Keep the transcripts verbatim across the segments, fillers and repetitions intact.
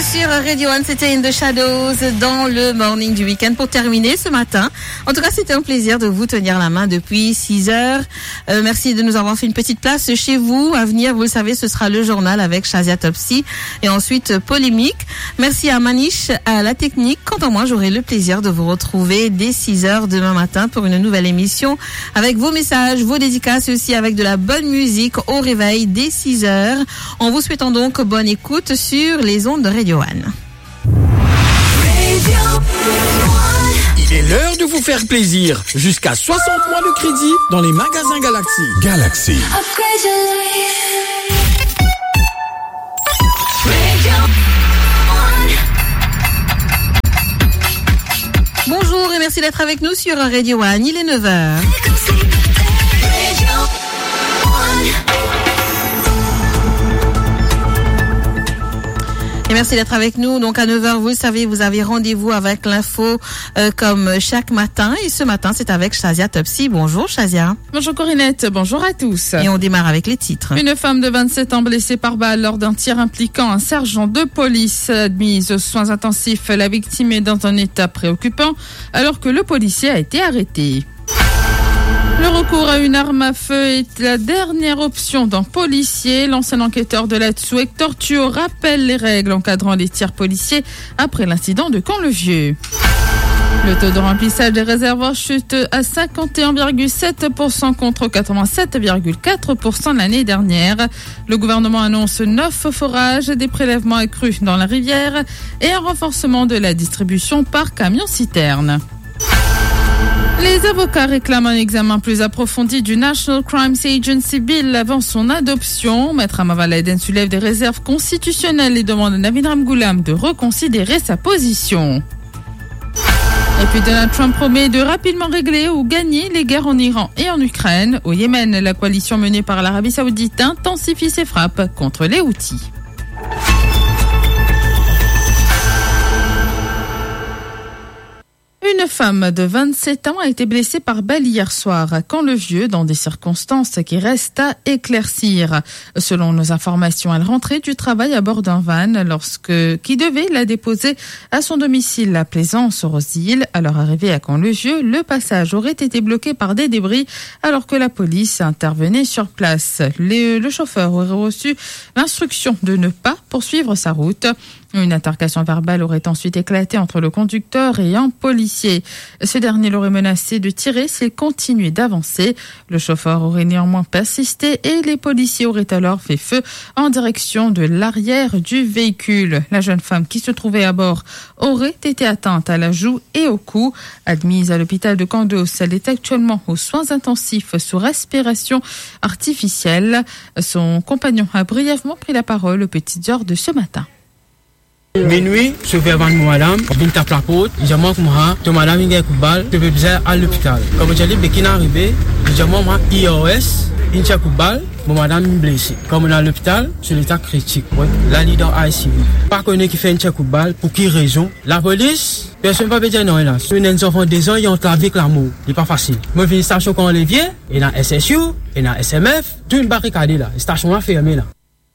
Sur Radio One, c'était In the Shadows dans le morning du week-end pour terminer ce matin. En tout cas, c'était un plaisir de vous tenir la main depuis six heures. Euh, merci de nous avoir fait une petite place chez vous. À venir, vous le savez, ce sera le journal avec Shazia Topsy et ensuite, euh, Polémique. Merci à Manish, à la technique. Quant à moi, j'aurai le plaisir de vous retrouver dès six heures demain matin pour une nouvelle émission avec vos messages, vos dédicaces et aussi avec de la bonne musique au réveil dès six heures. En vous souhaitant donc bonne écoute sur les ondes de Radio One. Il est l'heure de vous faire plaisir. Jusqu'à soixante mois de crédit dans les magasins Galaxy. Galaxy. Bonjour et merci d'être avec nous sur Radio One. Il est neuf heures. Et merci d'être avec nous. Donc à neuf heures, vous le savez, vous avez rendez-vous avec l'info, euh, comme chaque matin. Et ce matin, c'est avec Shazia Topsy. Bonjour Shazia. Bonjour Corinette, bonjour à tous. Et on démarre avec les titres. Une femme de vingt-sept ans blessée par balle lors d'un tir impliquant un sergent de police admise aux soins intensifs. La victime est dans un état préoccupant alors que le policier a été arrêté. Le recours à une arme à feu est la dernière option d'un policier. L'ancien enquêteur de Latsou, Hector Thuot, rappelle les règles encadrant les tirs policiers après l'incident de Camp-le-Vieux. Le taux de remplissage des réservoirs chute à cinquante et un virgule sept pour cent contre quatre-vingt-sept virgule quatre pour cent l'année dernière. Le gouvernement annonce neuf forages, des prélèvements accrus dans la rivière et un renforcement de la distribution par camion-citerne. Les avocats réclament un examen plus approfondi du National Crimes Agency Bill avant son adoption. Maître Amaval Eden soulève des réserves constitutionnelles et demande à Navin Ramgoolam de reconsidérer sa position. Et puis Donald Trump promet de rapidement régler ou gagner les guerres en Iran et en Ukraine. Au Yémen, la coalition menée par l'Arabie Saoudite intensifie ses frappes contre les Houthis. Une femme de vingt-sept ans a été blessée par balle hier soir à Camp-le-Vieux dans des circonstances qui restent à éclaircir. Selon nos informations, elle rentrait du travail à bord d'un van lorsque, qui devait la déposer à son domicile à Plaisance-Rose-Île. Alors arrivée à Camp-le-Vieux, le passage aurait été bloqué par des débris alors que la police intervenait sur place. Le, le chauffeur aurait reçu l'instruction de ne pas poursuivre sa route. Une altercation verbale aurait ensuite éclaté entre le conducteur et un policier. Ce dernier l'aurait menacé de tirer s'il continuait d'avancer. Le chauffeur aurait néanmoins persisté et les policiers auraient alors fait feu en direction de l'arrière du véhicule. La jeune femme qui se trouvait à bord aurait été atteinte à la joue et au cou. Admise à l'hôpital de Candos, elle est actuellement aux soins intensifs sous respiration artificielle. Son compagnon a brièvement pris la parole aux petites heures de ce matin. Minwi, sofer vann mo madam, vinn tap laport, li dir mwa kouma, to madam inn gagn kout bal, to pe bizin al lopital. Kan mo dir li be ki'nn arive, li dir mwa, mwa, I R S, inn tir kout bal, mo madam inn blese. Kan mo al lopital, so leta kritik. Wi, la li dan I C U. Pa kone kifer inn tir kout bal, pou ki rezon. Lapolis, personn pa pe dir nanye la. Si ena enn zanfan de zan, li ant lavi ek lamor. Li pa fasil. Mo vinn stasion Camp-Levier, ena S S U, ena S M F, tou inn barikade la. Stasion la ferme la.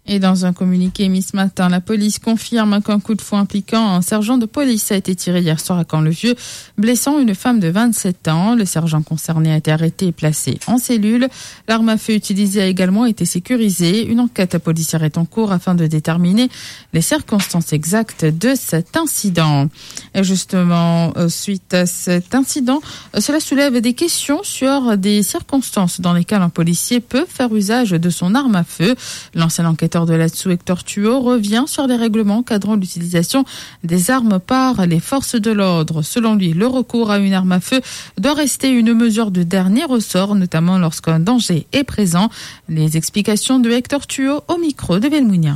Et dans un communiqué mis ce matin, la police confirme qu'un coup de fouet impliquant un sergent de police a été tiré hier soir à Camp-le-Vieux, blessant une femme de vingt-sept ans. Le sergent concerné a été arrêté et placé en cellule. L'arme à feu utilisée a également été sécurisée. Une enquête policière est en cours afin de déterminer les circonstances exactes de cet incident. Et justement, euh, suite à cet incident, euh, cela soulève des questions sur des circonstances dans lesquelles un policier peut faire usage de son arme à feu. L'ancien enquêteur de Latsou, Hector Thuot, revient sur les règlements encadrant l'utilisation des armes par les forces de l'ordre. Selon lui, le recours à une arme à feu doit rester une mesure de dernier ressort, notamment lorsqu'un danger est présent. Les explications de Hector Thuot au micro de Belmounia.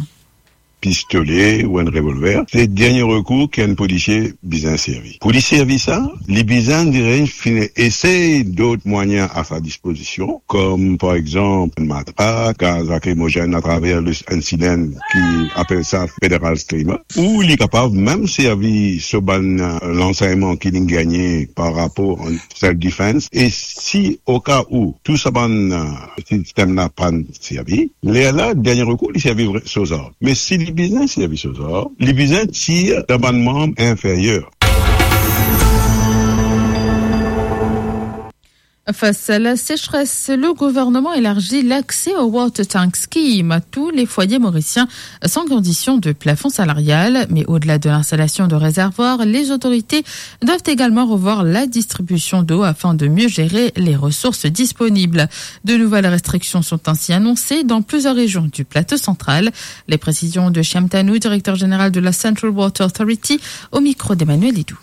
Pistole ou enn revolver, se dernie rekour ki enn polisie bizin servi. Pou li servi sa, li bizin, dirais-je, finn esey dot mwayin a sa dispozision, kom par exanp enn matrak, gaz lakrimozenn atraver le, enn silenn ki apel sa federal streamer, ou li kapav mem servi so bann, euh, lansegnman ki li gagne par rapor an self defense, e si oka ou tou sa bann, euh, sistem la pann servi, lerla, dernie rekour, li servi vre so zarm. Me si li Li bizin servi so zar, li bizin tir dan bann manm inferyer. Face à la sécheresse, le gouvernement élargit l'accès au Water Tank Scheme à tous les foyers mauriciens sans condition de plafond salarial. Mais au-delà de l'installation de réservoirs, les autorités doivent également revoir la distribution d'eau afin de mieux gérer les ressources disponibles. De nouvelles restrictions sont ainsi annoncées dans plusieurs régions du plateau central. Les précisions de Shyam Tanu, directeur général de la Central Water Authority, au micro d'Emmanuel Idou.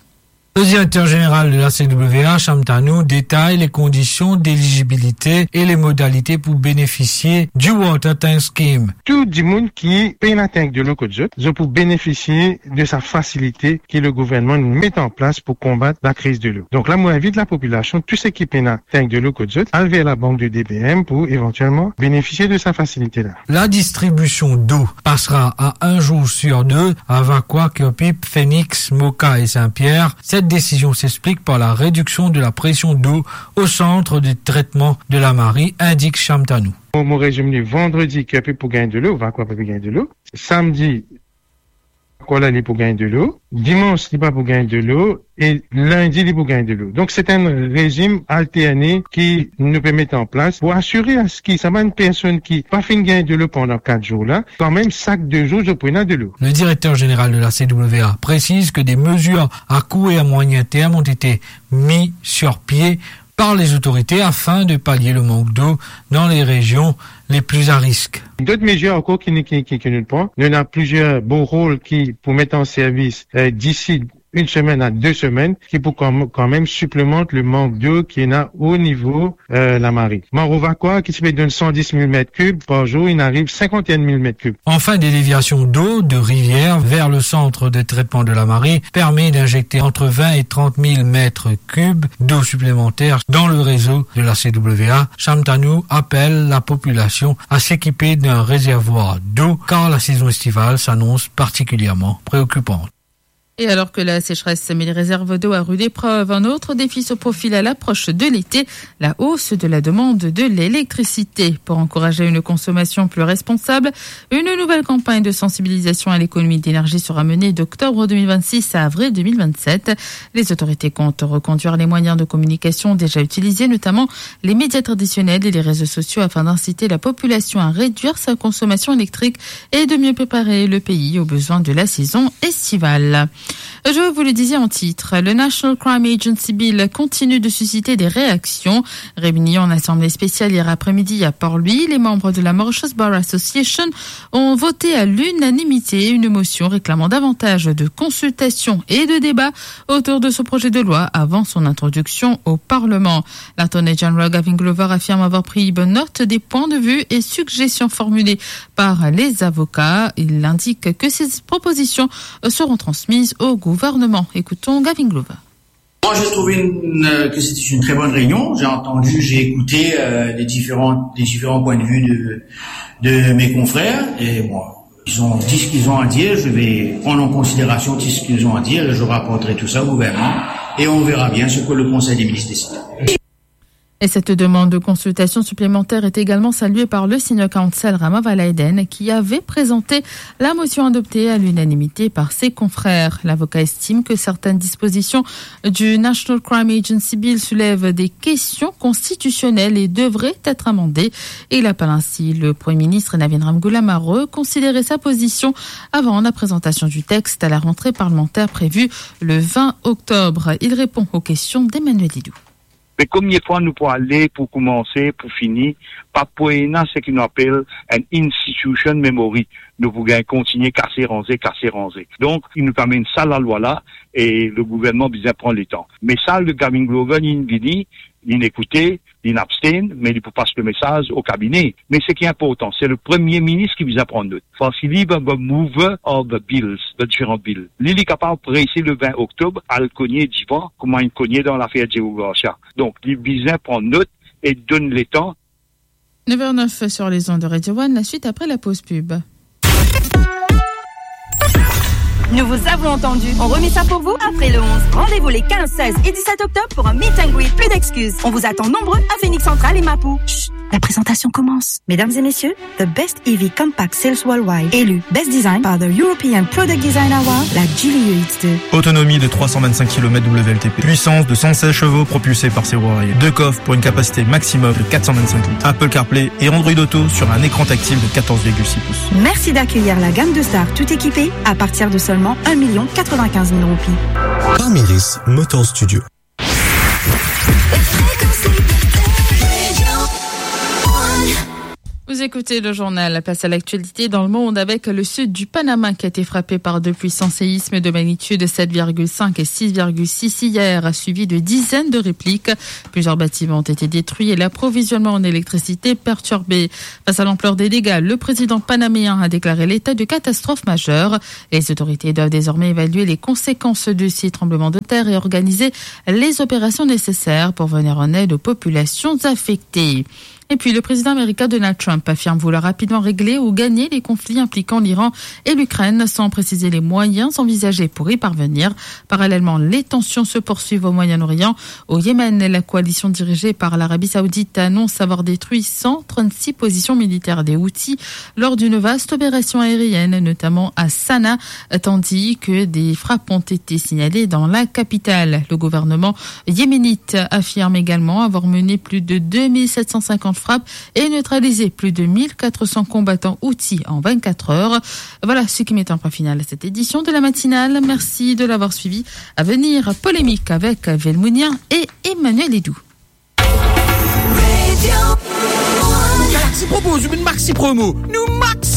Le directeur général de la C W A, Shyam Tanu, détaille les conditions d'éligibilité et les modalités pour bénéficier du Water Tank Scheme. Tou dimoun ki pena tank delo kot zot, zot pou benefisie de sa fasilite ki le gouvernman met an plas pou konbat lakriz delo. Donk la, mo invit lapopilasion, tou seki pena tank delo kot zot, al ver labank de D B M pou evantielman benefisie de sa fasilite la. La distribution d'eau passera à un jour sur deux à Vacoas, Curepipe, Phoenix, Moka et Saint-Pierre. Cette décision s'explique par la réduction de la pression d'eau au centre de traitement de la Marie, indique Shyam Tanu. Mo, mo rezime li, vandredi, Curepipe pou gagn delo, Vacoas pa pou gagn delo. Samdi, Vacoas la, li pou gagn delo. Dimans, li pa pou gagn delo. E lindi, li pou gagn delo. Donk, se enn rezim alterne ki nou pe met an plas pou asire aski sa bann personn ki pa finn gagn delo pandan kat zour la, kanmem sak de zour, zot pou ena delo. Le directeur général de la C W A précise que des mesures à court et à moyen terme ont été mises sur pied par les autorités afin de pallier le manque d'eau dans les régions les plus à risque. Dot mezir ankor ki, ki, ki, ki nou pran, nou ena plizier borehole ki pou met an servis, eh, disi enn semenn a de semenn, ki pou kan, kanmem siplemant le mank delo ki ena o nivo, eh, Lamarie. Maro Vacoas, ki ti pe donn san dis mil met kib par zour, inn ariv sinkant-enn mil met kib. Enfin, des déviations d'eau de rivière vers le centre de traitement de la Marie permet d'injecter entre vingt et trente mille mètres cubes d'eau supplémentaire dans le réseau de la C W A. Shyam Tanu appelle la population à s'équiper d'un réservoir d'eau car la saison estivale s'annonce particulièrement préoccupante. Et alors que la sécheresse met les réserves d'eau à rude épreuve, un autre défi se profile à l'approche de l'été, la hausse de la demande de l'électricité. Pour encourager une consommation plus responsable, une nouvelle campagne de sensibilisation à l'économie d'énergie sera menée d'octobre deux mille vingt-six à avril deux mille vingt-sept. Les autorités comptent reconduire les moyens de communication déjà utilisés, notamment les médias traditionnels et les réseaux sociaux, afin d'inciter la population à réduire sa consommation électrique et de mieux préparer le pays aux besoins de la saison estivale. Je vous le disais en titre, le National Crime Agency Bill continue de susciter des réactions. Réunis en assemblée spéciale hier après-midi à Port-Louis, les membres de la Mauritius Bar Association ont voté à l'unanimité une motion réclamant davantage de consultations et de débats autour de ce projet de loi avant son introduction au Parlement. L'Attorney General Gavin Glover affirme avoir pris bonne note des points de vue et suggestions formulées par les avocats. Il indique que ces propositions seront transmises au gouvernement. Écoutons Gavin Glover. Moi, j'ai trouvé une, euh, que c'était une très bonne réunion. J'ai entendu, j'ai écouté, euh, les différents, les différents points de vue de, de mes confrères. Et moi, ils ont dit ce qu'ils ont à dire. Je vais prendre en considération tout ce qu'ils ont à dire et je rapporterai tout ça au gouvernement. Et on verra bien ce que le Conseil des ministres décide. Et cette demande de consultation supplémentaire est également saluée par le senior counsel Rama Valaiden, qui avait présenté la motion adoptée à l'unanimité par ses confrères. L'avocat estime que certaines dispositions du National Crime Agency Bill soulèvent des questions constitutionnelles et devraient être amendées. Il appelle ainsi le Premier ministre Navin Ramgoolam à reconsidérer sa position avant la présentation du texte à la rentrée parlementaire prévue le vingt octobre. Il répond aux questions d'Emmanuel Idou. Me komie fwa nou pou ale, pou koumanse, pou fini, pa pou ena seki nou apel enn institution memory. Nou pou gagn kontinie kase, ranze, kase, ranze. Donk, nou pe amenn sa lalwa la, e le gouvernman bizin pran letan. Me sa, le Gavin Glover, linn vini, linn ekoute, linn abstain, me li pou pas le mesaz o kabine. Me seki inportan, se le Premie Minis ki bizin pran not. Parski li, ben, ben, mover of the bills, the diferan bill. Li, li kapav prese le vin oktob, al kogne divan, kouma linn kogne dan lafer Diego Garcia. Donk, li bizin pran not e donn letan. Neuf heures neuf sur les ondes de Radio One, la suite après la pause pub. Nous vous avons entendu. On remet ça pour vous après le onze. Rendez-vous les quinze, seize et dix-sept octobre pour un meet and greet. Plus d'excuses. On vous attend nombreux à Phoenix Central et Mapou. Chut. La présentation commence. Mesdames et messieurs, The Best E V Compact Sales Worldwide, élu Best Design par the European Product Design Award, la Geely E X deux. Autonomie de trois cent vingt-cinq kilomètres W L T P, puissance de cent seize chevaux propulsée par ses roues arrière, deux coffres pour une capacité maximum de quatre cent vingt-cinq litres, Apple CarPlay et Android Auto sur un écran tactile de quatorze virgule six pouces. Merci d'accueillir la gamme de Star tout équipée à partir de seulement un million quatre-vingt-quinze mille roupies. Palmyris Motor Studio. Vous écoutez le journal, place à l'actualité dans le monde avec le sud du Panama qui a été frappé par deux puissants séismes de magnitude sept virgule cinq et six virgule six hier, suivi de dizaines de répliques. Plusieurs bâtiments ont été détruits et l'approvisionnement en électricité perturbé. Face à l'ampleur des dégâts, le président panaméen a déclaré l'état de catastrophe majeure. Les autorités doivent désormais évaluer les conséquences de ces tremblements de terre et organiser les opérations nécessaires pour venir en aide aux populations affectées. Et puis, le président américain Donald Trump affirme vouloir rapidement régler ou gagner les conflits impliquant l'Iran et l'Ukraine, sans préciser les moyens envisagés pour y parvenir. Parallèlement, les tensions se poursuivent au Moyen-Orient. Au Yémen, la coalition dirigée par l'Arabie Saoudite annonce avoir détruit cent trente-six positions militaires des Houthis lors d'une vaste opération aérienne, notamment à Sanaa, tandis que des frappes ont été signalées dans la capitale. Le gouvernement yéménite affirme également avoir mené plus de deux mille sept cent cinquante frappes et neutralisé plus de mille quatre cents combattants Houthis en vingt-quatre heures. Voilà ce qui met un point final à cette édition de la matinale. Merci de l'avoir suivi. À venir, polémique avec Velmounien et Emmanuel Edou. Galaxy propose une maxi promo. Nou maxi